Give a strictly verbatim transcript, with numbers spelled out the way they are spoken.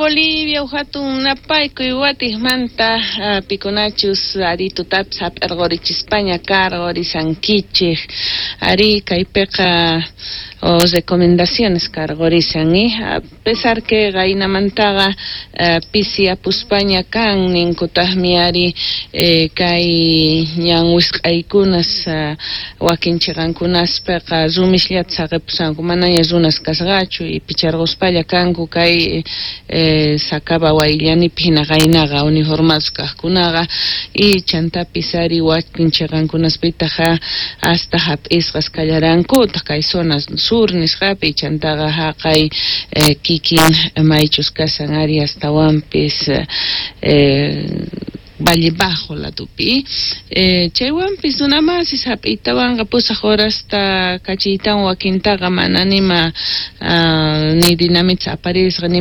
Bolivia hatun napaykuy watijmanta uh, pikunachus ari tutapis hap'irqurichispaña karqurisankichik ari kaypiqa o recomendaciones karqurisan eh? A pesar que qaynamantaqa uh, pisi apuspaña kan ninkutaqmi ari eh, kay ñan wisq'aykunas uh, wakin chiqankunaspiqa rumisllata saqipusanku manaña runas kasqachu y picharquspalla kanku kay eh, Sacaba Wayllanipi hina qaynaqa uniformados kaqkunaqa y chantapis ari wakin chiqankunaspitaqa hasta hap'isqas kallarankutaq kay zona sur nisqapi chantaqa haqay eh, kikin maychus kashan ari astawanpis eh, Valle Bajo ladupi eh, chaywanpis runamasis hap'iytawanqa pusaq horasta kachiytawan wakintaqa mana nima uh, ni dinamita aparisqa ni